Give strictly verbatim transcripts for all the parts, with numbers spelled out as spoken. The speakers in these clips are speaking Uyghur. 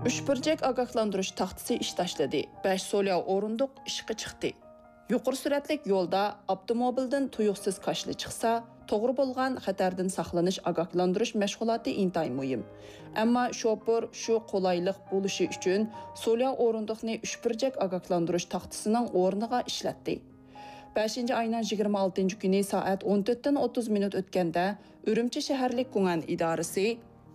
ئۈچ بۇرجەك ئاگاھلاندۇرۇش تاختىسى ئىش تاشلىدى، بەش سولياۋ ئورۇندۇق ئىشقا چىقتى. يۇقىرى سۈرئەتلىك يولدا ئاپتوموبىلدىن تۇيۇقسىز كاشىلا چىقسا، توغرا بولغان خەتەردىن ساقلىنىش ئاگاھلاندۇرۇش مەشغۇلاتى ئىنتايىن مۇھىم. ئەمما شوپۇر شۇ قولايلىق بولۇشى ئۈچۈن سولياۋ ئورۇندۇقنى ئۈچ بۇرجەك ئاگاھلاندۇرۇش تاختىسىنىڭ ئورنىغا ئىشلەتتى. بەشىنچى ئاينىڭ يىگىرمە ئالتىنچى كۈنى سائەت ئون تۆتتىن ئوتتۇز مىنۇت ئۆتكەندە، ئۈرۈمچى شەھەرلىك گۇڭئەن ئىدارىسى،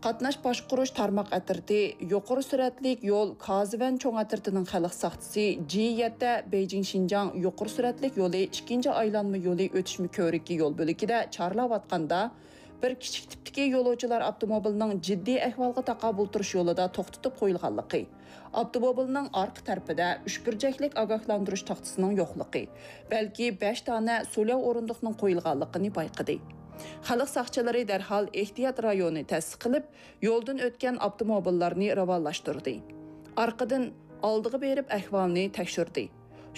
قاتناش باشقۇرۇش تارماق ئەترىتى، يۇقىرى سۈرئەتلىك يول كازىۋەن چوڭ ئەترىتىنىڭ خەلق ساقچىسى جى يەتتە بېيجىڭ شىنجاڭ يۇقىرى سۈرئەتلىك يولى ئىككىنچى ئايلانما يولى ئۆتۈشمە كۆۋرۈكى يول بۆلىكىدە چارلاۋاتقاندا، بىر كىچىك تىپتىكى يولۇچىلار ئاپتوموبىلىنىڭ جىددىي ئەھۋالغا تاقابىل تۇرۇش يولىدا توختىتىپ قويۇلغانلىقى، ئاپتوموبىلنىڭ ئارقا تەرىپىدە ئۈچ بۇرجەكلىك ئاگاھلاندۇرۇش تاختىسىنىڭ يوقلۇقى، بەلكى بەش دانە سولياۋ ئورۇندۇقنىڭ قويۇلغانلىقىنى بايقىدى. خەلق ساقچىلىرى دەرھال ئېھتىيات رايونى تەسىس قىلىپ، يولدىن ئۆتكەن ئاپتوموبىللارنى راۋانلاشتۇردى. ئارقىدىن ئالدىغا بېرىپ ئەھۋالنى تەكشۈردى.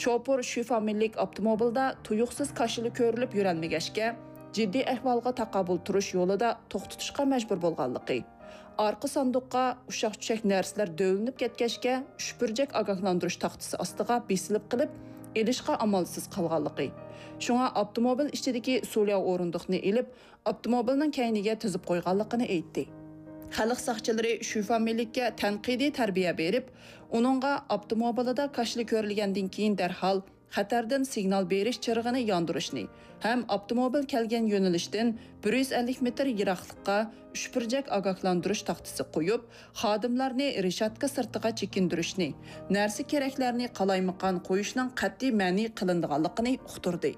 شوپۇر شۈ فامىلىلىك ئاپتوموبىلدا تۇيۇقسىز كاشىلا كۆرۈلۈپ يۈرەلمىگەچكە، جىددىي ئەھۋالغا تاقابىل تۇرۇش يولىدا توختىتىشقا مەجبۇر بولغانلىقى، ئارقا ساندۇققا ئۇششاق-چۈششەك نەرسىلەر دۆۋىلىنىپ كەتكەچكە، ئۈچ بۇرجەك ئاگاھلاندۇرۇش تاختىسى ئاستىغا بېسىلىپ قېلىپ، ئېلىشقا ئامالسىز قالغانلىقى، شۇڭا ئاپتوموبىل ئىچىدىكى سولياۋ ئورۇندۇقنى ئېلىپ، ئاپتوموبىلنىڭ كەينىگە تىزىپ قويغانلىقىنى ئېيتتى. خەلق ساقچىلىرى شۈ فامىلىلىككە تەنقىدىي تەربىيە بېرىپ، ئۇنىڭغا ئاپتوموبىلىدا كاشىلا كۆرۈلگەندىن كېيىن دەرھال خەتەردىن سىگنال بېرىش چىرىغىنى ياندۇرۇشنى ھەم ئاپتوموبىل كەلگەن يۆنىلىشتىن بىر يۈز ئەللىك مېتىر يىراقلىققا ئۈچ بۇرجەك ئاگاھلاندۇرۇش تاختىسى قويۇپ، خادىملارنى رېشاتكا سىرتىغا چېكىندۈرۈشنى، نەرسە-كېرەكلەرنى قالايمىقان قويۇشنىڭ قەتئىي مەنئى قىلىنىدىغانلىقىنى ئۇقتۇردى.